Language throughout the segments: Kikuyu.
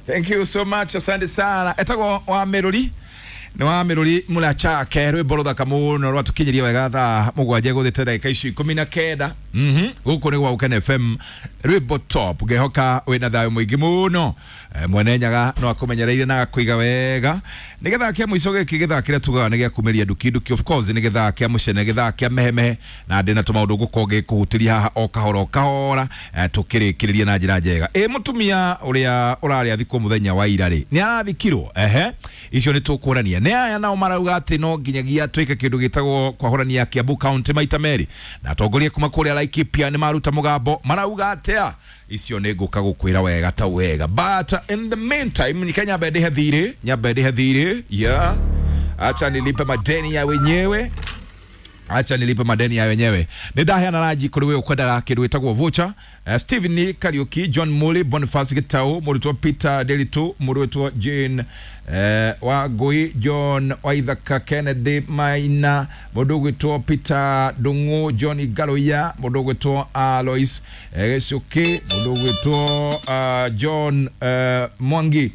Thank you so much, asante sana. Etagwo wa Meruri, nĩ wa Meruri Mũrachake, rwĩmbo rũthaka mũno rwatũkinyĩria wega thaa 7 gũthĩte ndagĩka icio 19. Gũkũ nĩ gwa Gũkena FM, rwĩmbo top. Ngehoka wĩna thayũ mũingĩ mũno. Mwene Nyaga no akũmenyereire na agakũiga wega. Nĩ gĩthaa kĩa mũico gĩkĩ, gĩthaa kĩrĩa tugaga nĩ gĩa kumĩria nduki nduki. Of course nĩ gĩthaa kĩa mũcene, gĩthaa kĩa mehemehe, na ndĩna tũmaũndũ ngũkorwo ngĩkũhutĩria haha o kahora o kahora, tũkĩrĩkĩrĩria na njĩra njega. Ĩ mũtumia ũrĩa ũrarĩ athikwo mũthenya wa ira rĩ, nĩ arathikirwo? Ehe, icio nĩ tũkũrania. Nĩ aya nao marauga atĩ no nginyagia twĩke kĩndũ gĩtagwo kwahũrania Kiambu County maita merĩ, na atongoria kuma kũrĩa Laikipia nĩ maruta mũgambo, marauga atĩa? Icio nĩ ngũka gũkwĩra wega ta wega, but in the meantime nika nyambe ndĩhe thirĩ, nyambe ndĩhe thirĩ. Yeah, acha nilipe madeni ya wenyewe, acha nilipe madeni ya wenyewe. Nĩ ndaheana ranji kũrĩ we ũkwendaga kĩndũ gĩtagwo voucher. Stephen Kariuki, John Muli, Boniface Gitau, mũrutwo Peter Delitu, mũrutwo Jane Wangui, John Waithaka, Kennedy Maina, mũndũ ũgwĩtwo Peter Ndung'u, John Ngaruiya, mũndũ ũgwĩtwo Alois Gĩcuki, mũndũ ũgwĩtwo John Mwangi,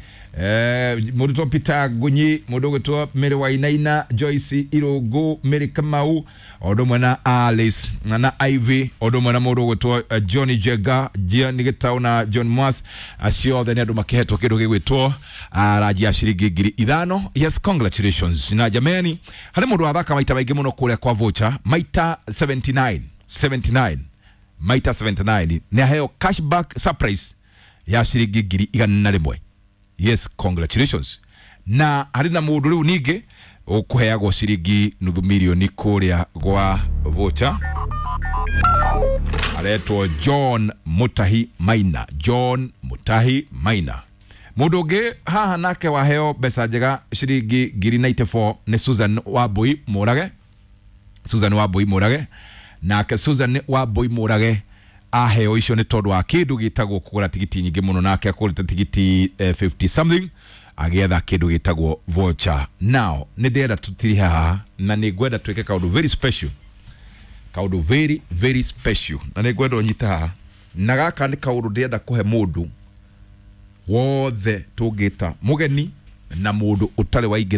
mũrutwo Peter Ngunyi, mũndũ ũgwĩtwo Mary Wainaina, Joyce Irũngũ, Mary Kamau, o ũndũ ũmwe na Alice na Ivy, o ũndũ ũmwe na mũndũ ũgwĩtwo Johnny Jenga, John Gitau na John Mwas. Acio othe nĩ andũ makĩhetwo kĩndũ gĩgwĩtwo ranji ya ciringi 5,000. Yes, congratulations. Na jameni, harĩ mũndũ wathaka maita maingĩ mũno kũrĩa kwa voucher, maita 79, 79, maita 79, nĩ aheo cashback surprise ya ciringi 101,000. Yes, congratulations. Na harĩ na mũndũ rĩu ningĩ ũkũheagwo ciringi 500,000 kũrĩa gwa voucher, aretwo John Mutahi Maina, John Mutahi Maina. Mũndũ ũngĩ haha nake waheo mbeca njega ciringi 94,000 nĩ Susan Wambui Mũrage, Susan Wambui Mũrage. Nake Susan Wambui Mũrage aheo icio nĩ tondũ wa kĩndũ gĩtagwo kũgũra tigiti nyingĩ mũno, nake akũrĩte tigiti 50 something agĩetha kĩndũ gĩtagwo voucher. Now nĩ ndĩrenda tũtirihe haha, na nĩ ngwenda twĩke kaũndũ very special, kaũndũ very very special, na nĩ ngwenda ũnyite haha, na gaka nĩ kaũndũ ndĩrenda kũhe mũndũ wothe tũngĩta mũgeni na mũndũ ũtarĩ waingĩra.